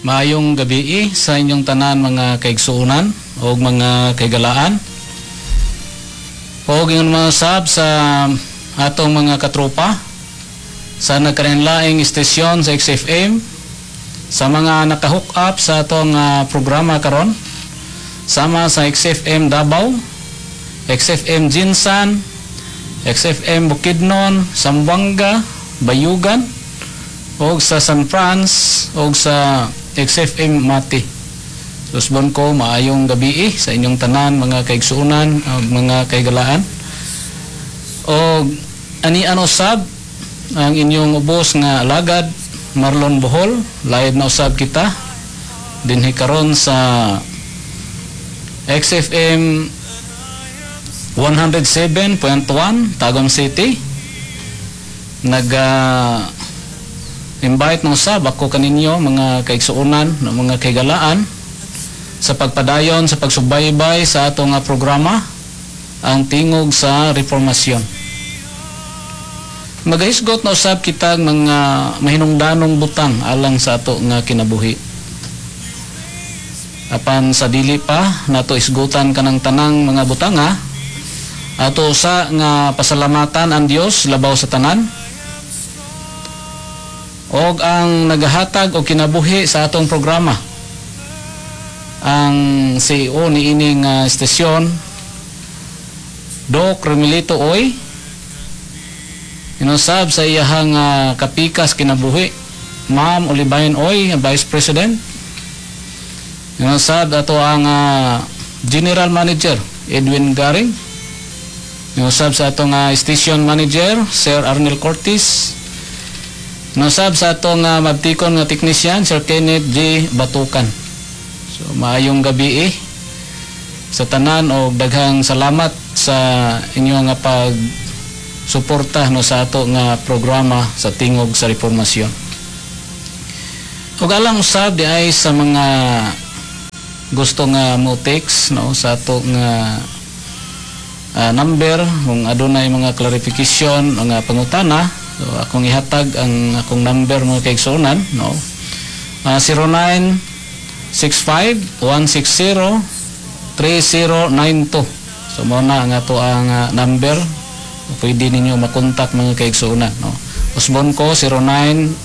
Maayong gabii sa inyong tanan, mga kaigsuonan o mga kaigalaan. O ingon mga sab sa atong mga katropa sa nagkalainlaing istasyon sa XFM, sa mga naka-hook up sa atong programa karon, sama sa XFM Davao, XFM GenSan, XFM Bukidnon, Zamboanga, Bayugan, o sa San Franz o sa XFM Mati. Susbon ko, maayong gabii sa inyong tanan, mga kaigsuonan ug mga kaigalaan. O ani ano sab ang inyong ubos nga alagad, Marlon Bohol, live na usab kita dinhi karon sa XFM 107.1 Tagum City. Nag invite ng usab ako kaninyo, mga kaigsuonan, mga kaigalaan, sa pagpadayon sa pagsubaybay sa atong programa, ang Tingog sa Reformasyon. Magahisgot na usab kita mga mahinungdanong butang alang sa ato nga kinabuhi. Apan sa dili pa nato isgutan kanang tanang mga butanga, ato sa nga pasalamatan ang Dios labaw sa tanan og ang nagahatag og kinabuhi sa atong programa, ang CEO ni ining istasyon, Doc Romilito Oy, inusab sa iyahang kapikas kinabuhi, Ma'am Olivain Oy, ang Vice President, inusab ato ang General Manager Edwin Garing, inusab sa atong Station Manager Sir Arnel Cortez, inusab sa atong mabtikon nga technician, Sir Kenneth G. Batukan. So maayong gabi sa tanan og daghang salamat sa inyong nga pag suporta, no, sa ato nga programa sa Tingog sa Reformasyon. Ug alang usab di ay sa mga gusto nga mo text, no, sa ato nga number kung adunay mga clarification, mga pangutana. So akong ihatag ang akong number, mga kaigsuonan, no, 0965 160 3092. So mao na ang ato ang number, pwede ninyo makontak, mga kaigsuonan, no. Usbon ko, 095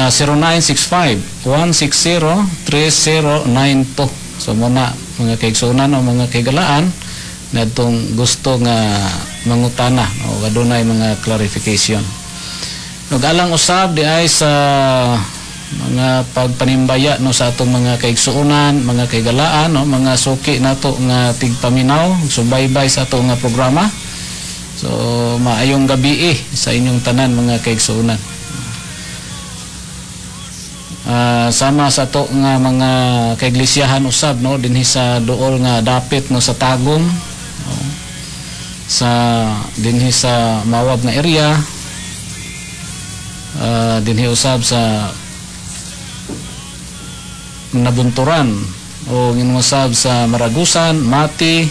0965 160 3092. So mao na, mga kaigsuonan o mga kaigalaan nadtong gusto nga mangutana o adunay mga clarification. Ug alang usab di ay sa mga pagpanimbaya, no, sa atong mga kaigsuonan, mga kaigalaan, no, mga suki nato nga tigpaminaw, subaybay sa ato nga programa. So maayong gabi sa inyong tanan, mga kaigsuonan. Sama sa ato nga mga kaiglesiyahan usab, no, dinhi sa duol nga dapit, no, sa Tagum, no, sa dinhi sa Mawab nga area, dinhi usab sa Nabunturan o usab sa Maragusan, Mati,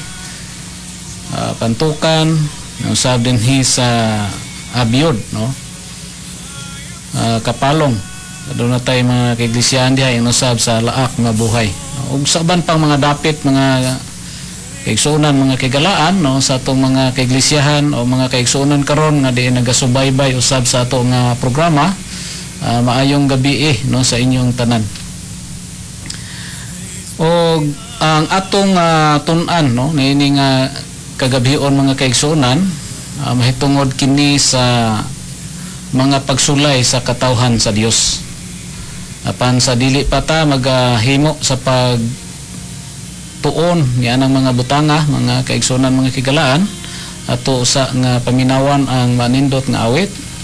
Pantukan, usab dinhi sa Abiod, no? Kapalong. Aduna tay mga kaiglesiyahan diha usab sa Laak nga Buhay. Ug sa uban pang mga dapit, mga kaigsuonan, mga kaigalaan, no, sa atong mga kaiglesiyahan o mga kaigsuonan karon nga diin nagasubaybay usab sa ato nga programa, maayong gabi, no, sa inyong tanan. O ang atong tun-an, no, niini nga kagabhion, mga kaigsuonan, mahitungod kini sa mga pagsulay sa katawhan sa Dios. Apan sa dili pa ta magahimo sa pag tuon ni anang mga butanga, mga kaigsuonan, mga kigalaan, ato sa nga paminawan ang manindot nga awit.